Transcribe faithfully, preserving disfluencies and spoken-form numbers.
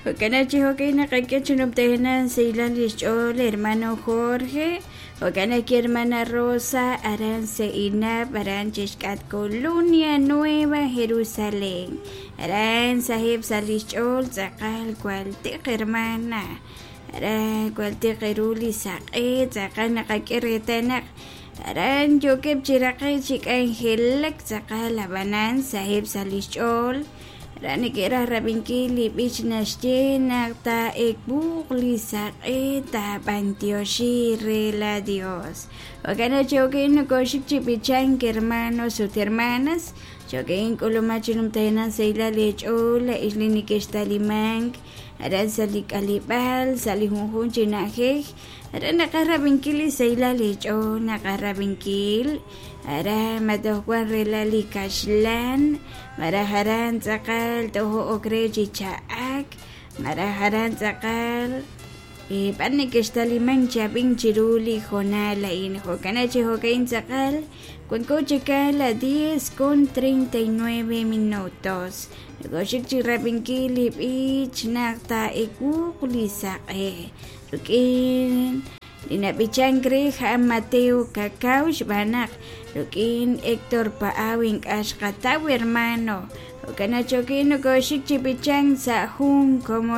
Jo'kan chi jo'kan naqak'e chi numtajenaq sahilal lix ch'ool hermano Jorge, jo'kan ki hermana Rosa aran Seinab aran chixk'at Colonia Nueva Jerusalén aran saheb' sa' lix ch'ool tz'aqal jwal tiq hermana aran jwal tiq ru li saq'e tz'aqal naqak'e reetal naq aran yookeb' chi raqe'k chi k'anjelak tz'aqal ab'anan saheb' sa' lix ch'ool aran neke'raj rab'inkil li b'ich naxye naq taa'ekbuuq li saq'e taab'antioxi re la Dios. Jo'kan chi jo'kan nokoxik chi b'ichank hermanos ut hermanas jo'kan k'ulumaj chi numtajenaq sahilal eech'ool ix li neke'xtalimank aran sa' li k'aleb'aal sa' li junjun chi na'ajej aran naqaj rab'inkil li sahilal eech'ool naqaj rab'inkil aran matoj wan rela li kaxlan maraj aran tz'aqal tojo'ok re chi cha'ak maraj aran tz'aqal b'ar neke'xtalimank chab'in chiru li jonal a'in jo'kan chi jo'kan tz'aqal wanko chika la diez con treinta y nueve minutos nokoxik chi rab'inkil li b'ich naq taa'ewuuq li saq'e rik'in li nab'ichank re ja'an Mateo Cacao xb'aan naq rik'in Héctor Pa'aw ink'a' xqataw hermano jo'kan chokin nokoxik chi b'ichank sa' jun komon.